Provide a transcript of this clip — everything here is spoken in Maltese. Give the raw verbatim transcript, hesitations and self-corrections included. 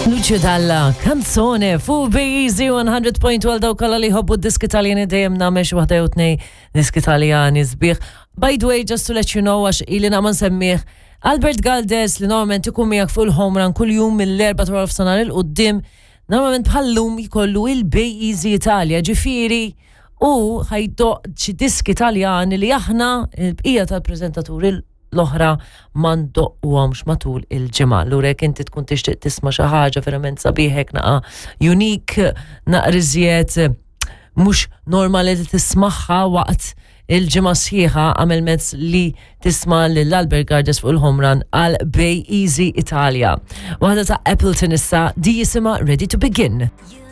Lucio Dalla, Canzone, fuq Easy one hundred point one. Dawk kollha li jħobbu diski Taljani, dejjem nagħmel xi waħda jew tnejn diski Taljani sbieħ. By the way, just to let you know, għax ili ma nsemmih, Albert Galdes, li normalment ikun miegħek fuq il-Home Run kull jum mill-erbgħa ta' nofsinhar 'il quddiem, normalment bħallum jkollu il-Bay Easy Italia, ġifieri u ħa jdoqq xi diski Taljani li aħna, il-bqija tal-preżentaturi l-oħra, ma ndoqquhomx matul il-ġimgħa. Allura jekk inti tkun tixtieq tisma' xi ħaġa verament sabiħek, naqa unique, naqra iżjed mhux normali li tismagħha waqt il-ġimgħa sħiħa, għamel mezz li tisma' lil Albert Gardes fuq il-Home Run għal Bay Easy Italia. Waħda ta' Appleton issa, di jisimha Ready to Begin. You